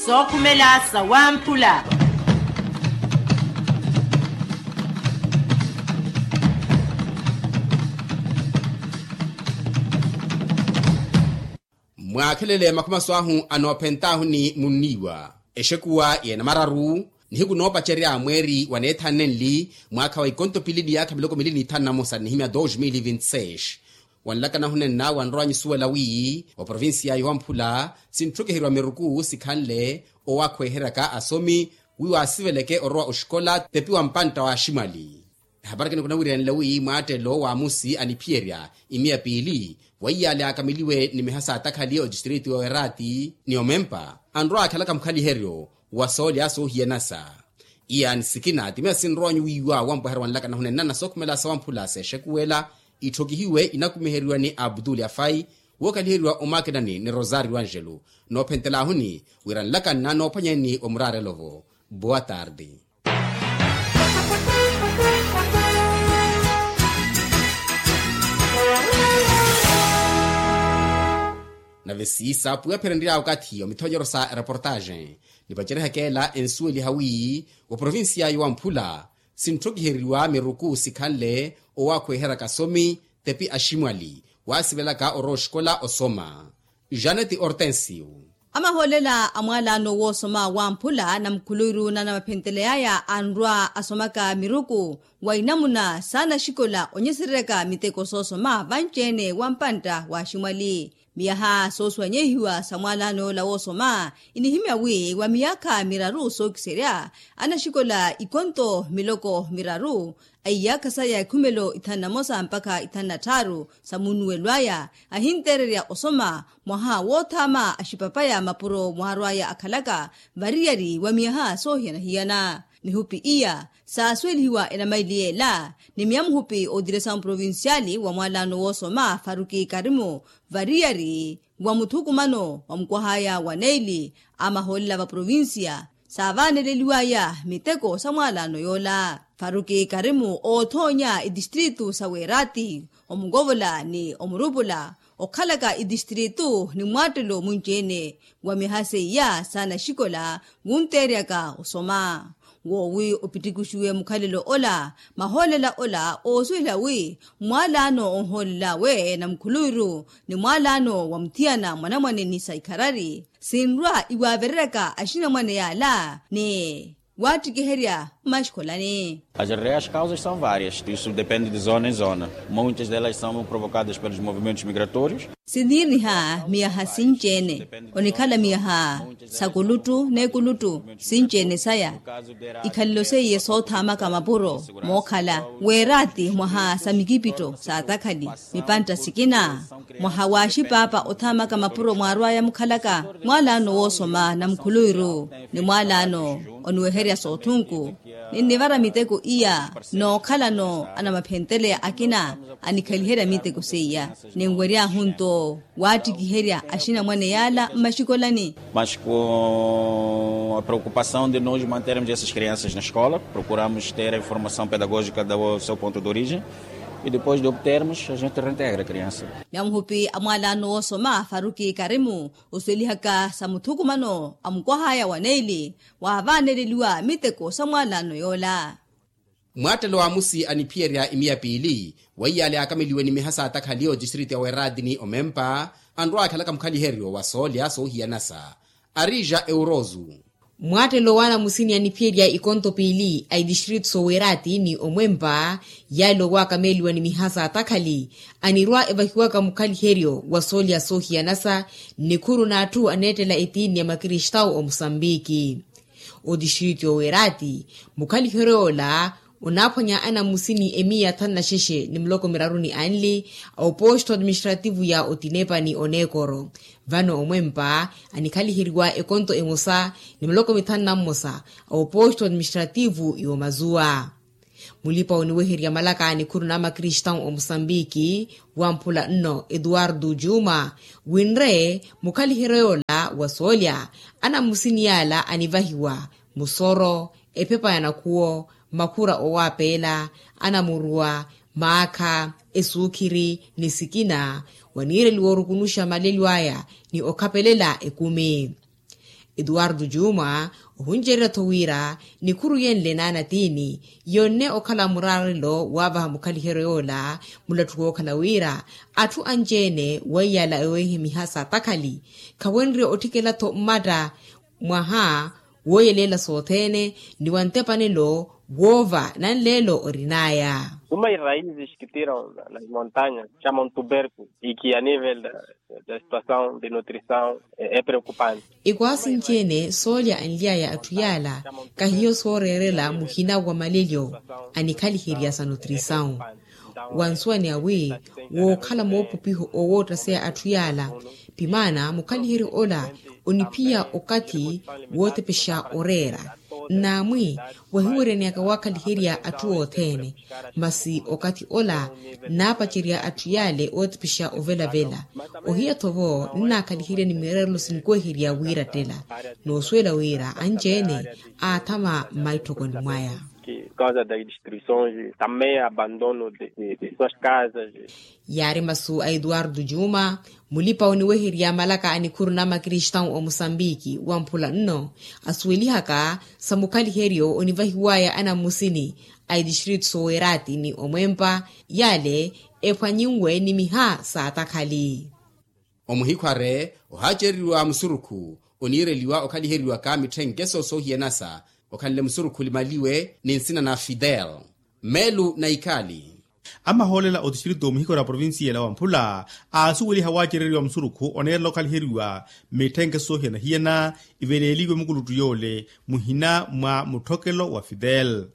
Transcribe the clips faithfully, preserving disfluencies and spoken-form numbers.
Sookhumela sawamphula. Mwaakhelele makhumaso ahu anoophentaahu ni munniiwa exekuwa y'enamararu, nihiku noopacerya mweeri wa neethaane nli mwaakha wa ikonto pili ni yaakha miloko mili ni thanu na mosa nnihimya dos mil vinti seis. Wanlakana hunenna wanrowa nyusuwela wi oprovincia yowamphula sintthukiheriwa miruku sikhanle owakhweheryaka asomi wi waasiveleke orowa oxikola tepi wa mpantta wa aximwali. Ehapari kinikunawiryanela wi mwaattelo wa amusi aniphiyerya imiya piili, weiyaale akameliwe ni miha saatakhali otistriti wa werati ni omempa anrowa akhalaka mukhaliheryo wa soolya soohiyanasa. Iya ni sikina timiya sinrowanyu wiiwa wampweherya wanlakana hunenna na sookhumela sawamphula seexekuwela itthokihiwe inakumiheriwa ni abdul afai wookaliheriwa omakinani ni rosario angelo. Noophentelahuni wira nlakanna noophwanyani omuraarelo-vo. Boa tarde. Nave siisa pwiwaphererya okathi omithonyero sa ereportaxe nipacerihaka ela ensuweliha wi oprovincia yowamphula sintthokiheriwa miruku sikhanle owakhweheryaka asomi tepi aximwali waasivelaka orowa oxikola osoma. Janeti ortensio. Amahoolela a mwalaano woosoma wamphula na mukhuluwiru na namaphentele aya anrwa asomaka miruku wa inamuna saana axikola onyesereryaka miteko soosoma vanci-ene wa mpantta wa aximwali. Miyaha soosuwanyehiwa sa mwalaano yoola woosoma inihimya wi wa miyaakha miraru sookiserya anaxikola ikonto miloko miraru a iyaakha saya ikhumelo ithanu na mosa mpakha ithanu na tthaaru sa munnuwelo aya ahinteererya osoma mwaha woothaama axipapaya mapuro mwaarwaya akhalaka variyari wa miyaha soohiyana-hiyana. Mihupi iya saasuwelihiwa enamaili yeela ni miya muhupi ootiresa muprovinciali wa mwalaano woosoma faruki karimu variyari wa muthukumano wa mukwahaya wa neili a mahoolela va provincia saavaaneleliwaya miteko sa mwalaano yoola. Faruki karimu oothoonya itistritu sa weerati omukovola ni omurupula okhalaka itistritu ni mwaattelo munci-ene wa miha seiya saana axikola wunteeryaka osoma woowi opittikuxiwe mukhalelo ola. Mahoolela ola oosuwela wi mwalaano onhoolel'awe na mukhuluwiru ni mwalaano wa muthiyana mwanamwane ni sa ikharari sinrwa iwaavereryaka axinamwane yaala ni waattikiherya mmaxikolani. As reais causas são várias, isso depende de zona em zona. Muitas delas são provocadas pelos movimentos migratórios. Siniiriniha miyaha sinci-ene onikhala miyaha sa kuluttu n'ekuluttu sinci-ene saya ikhalelo seiye soothaamaka mapuro mookhala weeraati mwaha sa mikipitto saatakhali mipantta sikina mwaha wa axipaapa othaamaka mapuro mwaarwaya mukhalaka mwalaano woosoma na mukhuluwiru ni mwalaano oniweherya soothunku ninnivara miteko iya nookhalano anamaphenteleya akina anikhaliherya miteko seiya ninwery'ahu nto waattikiherya axinamwane yaala mmaxikolani. Mas com a preocupação de nós mantermos essas crianças na escola procuramos ter a informação pedagógica do seu ponto de origem e depois de obtermos a gente reintegra a criança. Namuhupi a mwalaano woosoma faruki karimu osuwelihaka sa muthukumano a mukwahaya wa neili waavaaneleliwa miteko sa mwalaano yoola. Mwaattelo wa amusi aniphiyerya imiya piili weiyaale aakameliwe ni miha saatakhali otistriti ya weerati ni omempa anrwa akhalaka mukhaliheryo wa soolya soohiyanasa arija eurozu. Mwaattelo w'anamusini aniphiyerya ikonto piili a itistritu soweerati ni omwempa yaale owaakameliwa ni miha saatakhali anirwa evahiwaka mukhaliheryo wa soolya soohiyanasa nnikhuru n'atthu aneettela etiini ya makristawu omusambiki. Otistritu yoweerati mukhaliheryo yoola onaaphwanya anamusini emiya thanu na xexe ni muloko miraru ni anli a oposto administrativu ya otinepa ni oneekoro. Vano omwempa anikhaliheriwa ekonto emosa ni muloko mithanu na mmosa a oposto administrativu y'omazuwa. Mulipa oniweherya malaka ni khuru na makristawu omusambiki wamphula nno etuwardu juma winre mukhaliheryo yoola wa soolya anamusini yaala anivahiwa musoro ephepa ya nakhuwo makhura owaapeela anamuruwa maakha esuukhiri ni sikina waniireliwa orukunuxa malelyo aya ni okhapelela ekumi. Etuwartu juma ohuncererya-tho wira nikhuru yenle naanatiini yonne okhala muraarelo waavaha mukhaliheryo yoola mulattu wookhala wira atthu anci-ene weiyala eweihimiha saatakhali khawenrye otthikela-tho mmatta mwaha wooyeleela sothene ni wa ntepanelo woova nanleelo orin'aya. Uma iraizi xikitira nas montanhas chamam tuberku iki a nivel da situação de nutrição e preocupante. Ikwaasi nci-ene soolya anly'aya atthu yaala kahiyo sooreerela muhina wa malelyo anikhaliherya sa nutrisawu. Wa nsuwani awi wookhala moopupiho owoottaseya atthu yaala pimaana mukhaliheryo ola oniphiya okathi wootepexa oreera nnaamwi wahiweryaneyaka waakhaliherya atthu othene. Masi okathi ola nnaapacerya atthu yaale ootepexa ovelavela ohiya-tho-vo nnaakhaliherya ni mireerelo sinkweherya wiirattela noosuwela wira anci-ene aathama mmaitthokoni mwaya. Causa das destruições também abandono de suas casas. Yaari masu a etuwartu juma mulipa oniweherya malaka a nikhuru na makristau a musambiki wamphula nno asuwelihaka sa mukhaliheryo onivahiwaya anammusini a etistritu soowerati ni omwempa yaale ephwanyinwe ni miha saatakhali. Omuhikhware ohaacereriwa musurukhu oniireliwa okhaliheriwaka mitthenkeso soohiyanasa okhanle musurukhu olimaliwe ni nsina na fidel meelu na ikali. Amahoolela otistritu omuhikhware a provincia ela wamphula aasuweliha waacereriwa musurukhu oneerela okhaliheriwa mitthenkeso soohiyana-hiyana iveleeliwe mukuluttu yoole muhina mwa mutthokelo wa fidel.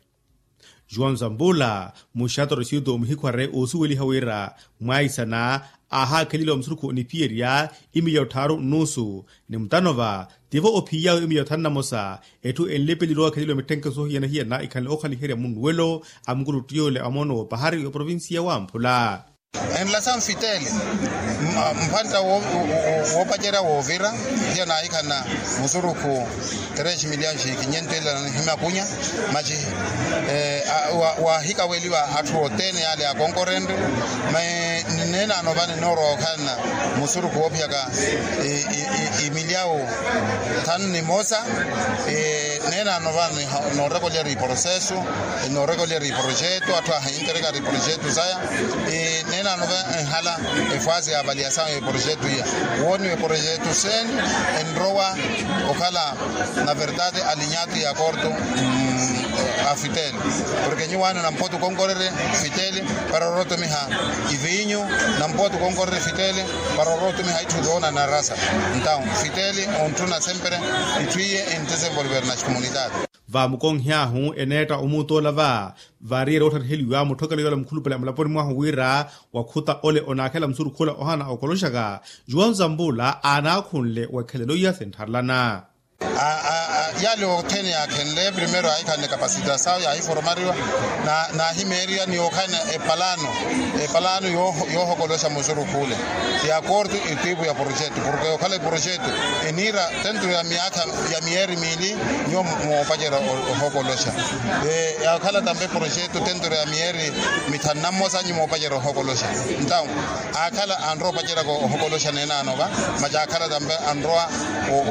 Juan zambula muxatorositu omuhikhware oosuweliha wira mwaisana aahaakheleliwa musurukhu oniphiyerya imilya otthaaru nnuusu ni mutanova tivo ophiyawe imilya othanu na mosa. Etthu enlepeliwa ookheleliwa mitthenke soohiyana-hiyana ikhanle ookhaliherya munnuwelo a mukuluttu yoole a moono woopahari oprovincia wamphula. Enlasawu nfitele mphantta woopacerya woovira hiya naahikhana musurukhu tres miliyani xi kinyentu ela na nihimakunya maxi waahikaweliwa atthu othene yaale akonkorenre. Maye neenano vano enoorowa okhalana musurukhu woophiyaka imilyawu thanu ni mosa. Neenano vano noorekolyera iprosesu noorekolyera iprojetu atthu ahinterekari iprojetu saya. Neenano va enhala efwazi ya avaliasawu ya eprojetu iya wooniwa eprojetu seni enrowa okhala na verdade alinyatu ya korto a fitele. Porke nyuwaano nampotu konkorerye fitele para orootumiha iviinyu nampotu konkorerye fitele para orootumiha itthu doona na rasa. Ntau fitele ontthuna sempre itthu iye entesenvolver na xikomunitati. Vaamukonhy'ahu eneetta omuutt'ola va vaariyerya oottariheliwa mutthokelo yoola mukhulupale amulaponi mwahu wira wakhuta ole onaakhela musurukhu ola ohana okoloxaka. Juan zambula aanaakhunle wekhelelo iya sintharelana. Yaale othene yaakhenle primero yaahikhanle kapasitasawu yaahiforomariwa naahimeeriwa ni yookhana epalano epalano yoohokoloxa musurukhu ole ya korto etipu ya porojetu porke yookhala eporojetu eniira tentro ya miyaakha ya miyeeri miili nyuwo moopacerya ohokoloxa. Yaakhala tampe porojetu tentro ya miyeeri mithanu na mmosa nyuwo moopacerya ohokoloxa. Ntawu aakhala anrowa opaceryaka ohokoloxa neenano va maci aakhala tampe anrowa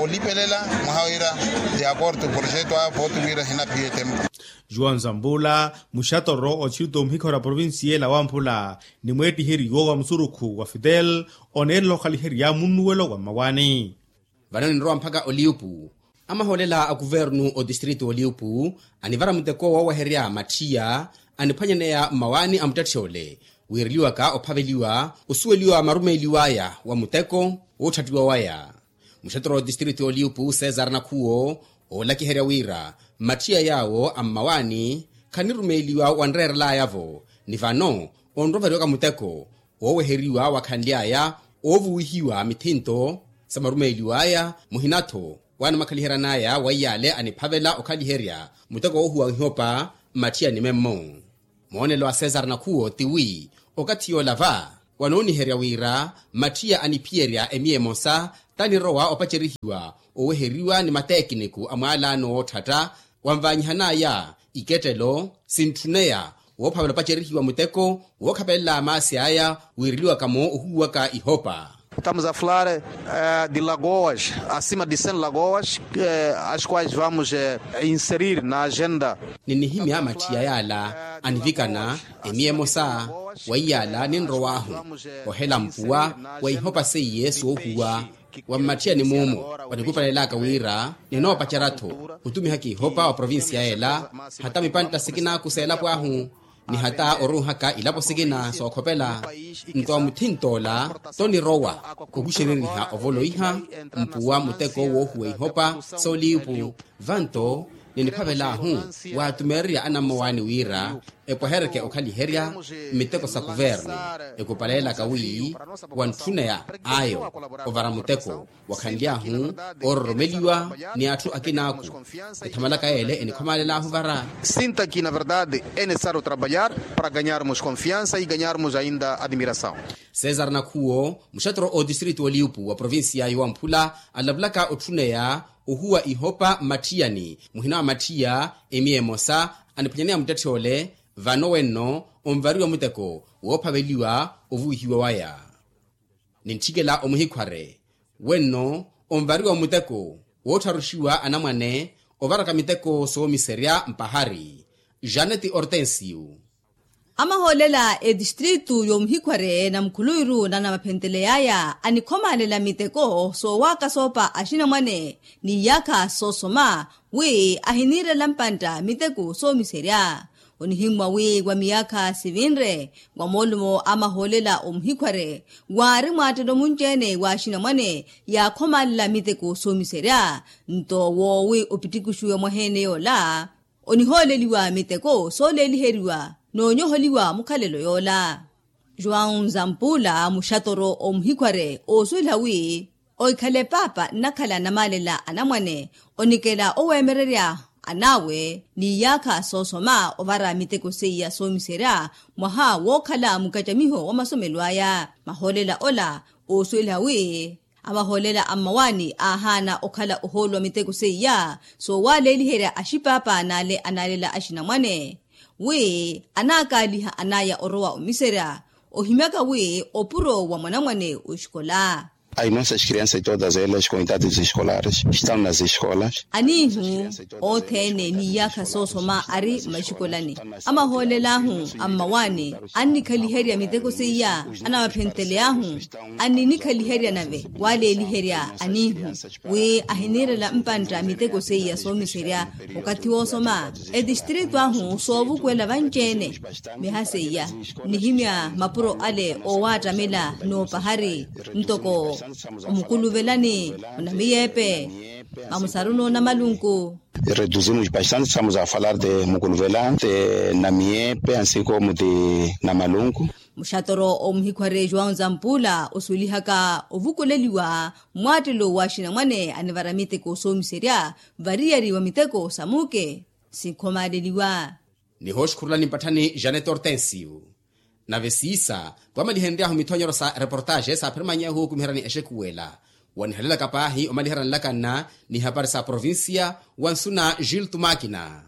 olipelela mwaha wira ya korto porojetu aya pooti wira ehinaphiya etempo. Juan zambula muxatoro otistritu omuhikhoro a provincia ela wamphula ni mweettiheriwo wa musurukhu wa fidel oneerela okhaliherya munnuwelo wa mmawaani. Vano ninrowa mpakha oliupu amahoolela a kuvernu otistritu oliupu anivara muteko wooweherya mattiya aniphwanyaneya mmawaani a muttetthi ole wiireliwaka ophaveliwa osuweliwa marumeeliw'aya wa muteko wootthattiwa waya. Muxetero wa otistritu oliupu cesar nakhuwo oolakiherya wira mmattiya yaawo a mmawaani khanirumeeliwa wanreerel'aya-vo ni vano onrovariwaka muteko wooweheriwa wakhanly'aya oovuwihiwa mithinto sa marumeeliw'aya muhina-tho waanamakaliheran'aya wa iyaale aniphavela okhaliherya muteko woohuwa ihopa mmatthiyani memmo. Moonelo a cesar nakhuwo tiwi okathi yoola va wanooniherya wira mmathiya aniphiyerya emiya emosa tanirowa opacerihiwa oweheriwa ni mateekiniku a mwaalaano wootthatta wanvaanyihan'aya ikettelo sintthuneya woophavela opacerihiwa muteko wookhapelela maasi aya wiireliwaka-mo ohuwaka ihopa. Estamos a falar de lagoas acima de cem lagoas, as quais vamos inserir na agenda. Ninihimya mathiya yaala anivikana emiya emosa. Weiyaala ninrow'ahu ohela mpuwa wa ihopa seiye soohuwa wa mmatthiyani muumu. Wanikupalelaka wira ninoopacerya-tho otumihaka ihopa wa provincia ela hata mipantta sikinaku s'elapo ahu ni hata oruuhaka ilapo sikina sookhopela. Nto wa muthint'ola tonirowa ohuxereriha ovoloiha mpuwa muteko woohuwa ihopa sooliipu. Vanto niniphavel'ahu waatumeererya anammowaani wira epwehereke okhaliherya miteko sa kuvernu. Ekupaleelaka wi wantthuneya ayo ovara muteko wakhanly'ahu oororomeliwa ni atthu akinaaku. Ethamalaka yeele enikhomaalel'ahu vara. Sinta ki na verdade é necessário trabalhar para ganharmos confiança e ganharmos ainda admiração. César nakhuwo muxattoro otistritu oliupu wa provincia y'owamphula alavulaka otthuneya ohuwa ihopa mmatthiyani muhina wa mathiya emiya emosa aniphwanyaneya muttetth'ole. Vano wenno onvariwa muteko woophaveliwa ovuwihiwa waya. Nintthikela omuhikhware wenno onvariwa muteko woottharuxiwa anamwane ovaraka miteko soomiserya mpahari. Janeti ortensio. Amahoolela etistritu y'omuhikhware na mukhuluwiru na namaphenteley'aya anikhomaalela miteko soowaaka soopa axinamwane n'iyaakha soosoma wi ahiniirela mpantta miteko soomiserya. Onihimmwa wi wa miyaakha sivinre wa moolumo a mahoolela omuhikhware waari mwaattelo munci-ene w'axinamwane yaakhomaalela miteko soomiserya. Nto woowi opitikuxiwe mwaheene yoola onihooleliwa miteko sooleeliheriwa n'onyoholiwa mukhalelo yoola. João nzampuula muxatoro omuhikhware oosuwela wi ohikhale paapa nnakhala namaalela anamwane onikela oweemererya an'awe n'iyaakha soosoma ovara miteko seiya soomiserya mwaha wookhala mukacamiho wa masomelo aya. Mahoolela ola oosuwela wi amahoolela a mmawaani aahaana okhala ohooluwa miteko seiya soowaleeliherya axipaapa n'ale anaalela axinamwane wi anaakaaliha an'aya orowa omiserya ohimyaka wi opuro wa mwanamwane oxikola. As nossas crianças todas elas com idades escolares estão nas escolas. Aniihu othene n'iyaakha soosoma ari mmaxikolani. Amahoolela-ahu a mmawaani annikhaliherya miteko seiya anawaphenteley'ahu anninikhaliherya nave waleeliherya aniihu wi ahiniirela mpantta miteko seiya soomiserya okathi woosoma. Etistritu ahu soovukwela vanci-ene miha seiya nnihimya mapuro ale oowaattamela n'opahari ntoko omukuluvelani onamiyeepe mamusaruni onamalunku. Reduzimos bastante estamos a falar de mukuluvela de namiyeepe ansikomu de namalunku. Muxatoro omuhikhware joão zampuula osuwelihaka ovukuleliwa mmwaattelo w'axinamwane anivara miteko soomiserya variyari wa miteko sa muuke sinkhomaleliwa. Nihooxukhurulani mpatthani janet hortensio. Nave siisa twamalihenry'ahu mithonyero sa reportaxe saaphirimany'ahu okumiheryani exekuwela wanihalelaka paahi omaliherya nlakanna ni hapari sa provincia wa nsuna gilto makina.